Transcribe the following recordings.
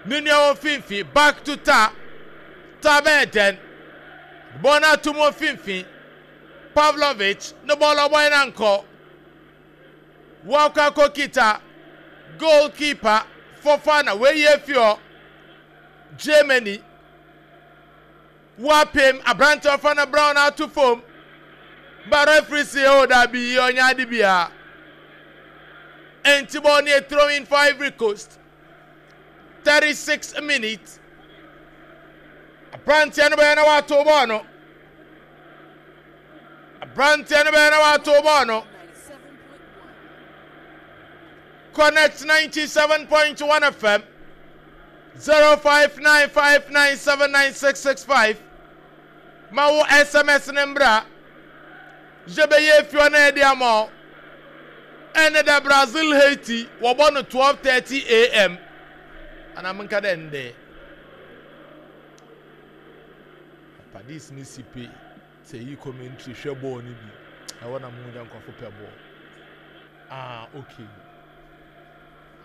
Ne nua wɔ mfimfini back to Ta. Ta bɛyɛ dɛn? Bɔɔl no ato mu wɔ mfimfini. Pavlovic ne bɔɔl ɔbɔe no ankɔ. Wakɔ akɔkita goalkeeper Fofana wayi afi hɔ. Germany Woapem aberante a ɔfa no brown ato fam. Ba referee se oh dabi ɔnyɛ ade biara. Enti bɔɔl no yɛ throw in for Ivory Coast. 36 minutes. Aberanteɛ no bɛyɛ na wato bɔɔl no. Aberanteɛ no bɛyɛ na wato bɔɔl no. Connect 97.1 FM 0595979665 ma wo SMS no mbra yɛbɛyɛ efi hɔ na yɛde ama wo. Ɛne da Brazil Haiti wɔbɔ no 12:30 am anaa menka dɛ ndɛ Padis ne sipe sɛ yi commentary hwɛ bɔɔl no bi ɛwɔ na mo dɛ nkurɔfo pɛ bɔɔl. Ah okay.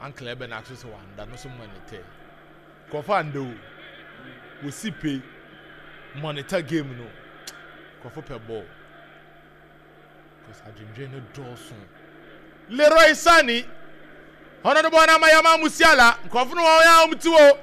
Uncle ɛbɛ na aso sɛ wanda no so monitor. Nkurɔfo anda o. Wosi pe monitor game no. Nkurɔfo pɛ bɔɔl. Because adwendwen no dɔɔso. Leroy Sane ɔno de bɔɔl no ama Yamal Musiala. Nkurɔfo no wɔn a wɔn ti wɔ.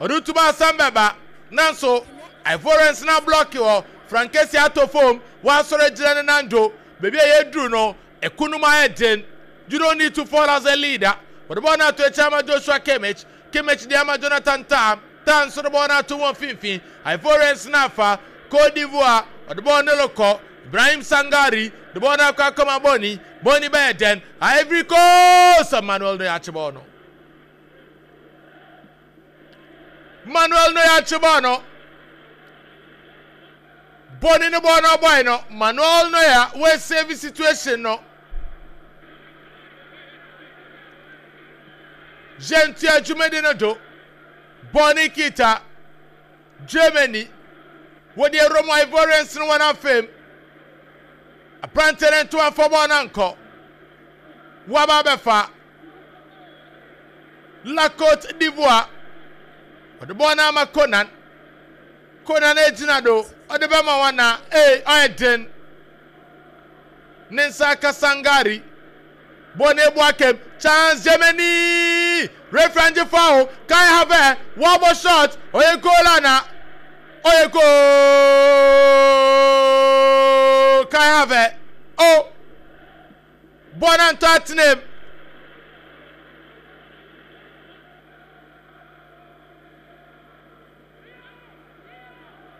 Ɔde tu ba asɛm bɛba. Nanso Ivorians na blɔki hɔ. Frankesi atɔ fam. Wasɔre agyina ne nan do. Baabi a yɛduru no, Ɛko no mu ayɛ den. You don't need to fall as a leader. Wɔde bɔɔl no ato akyiri ama Joshua Kimmich. Kimmich de ama Jonathan Tah. Tah nso de bɔɔl no ato wɔn mfimfini. Ivorians no afa. Cote d'Ivoire, wɔde bɔɔl no rekɔ. Ibrahim Sangare de bɔɔl no akɔ akɔma Bony. Bony bɛyɛ dɛn? Ivory Coast! Manuel Neuer akye bɔɔl no. Manuel Neuer akye bɔɔl no. Bɔne no bɔɔ no ɔbɔe no, Manuel Neuer wɔ save situation no. Yɛntua dwumadi no do. Bɔne kita Germany. Wɔde Roma Ivorians no wɔn afam. Aberante no nto amfa bɔɔl no ankɔ. Wɔaba abɛfa La Cote d'Ivoire. Wɔde bɔɔl no ama Konan. Kona no egyina do, ɔde bɛma hɔn a, ei, ɔyɛ dzen. Ne nsa aka Sangare. Bɔ no ebu akam. Chance Germany! Referee angye foul. Kai Havertz, wɔabɔ shot. Ɔyɛ goal ana? Ɔyɛ goal! Kai Havertz, oh! Bɔ no antɔ atsenam.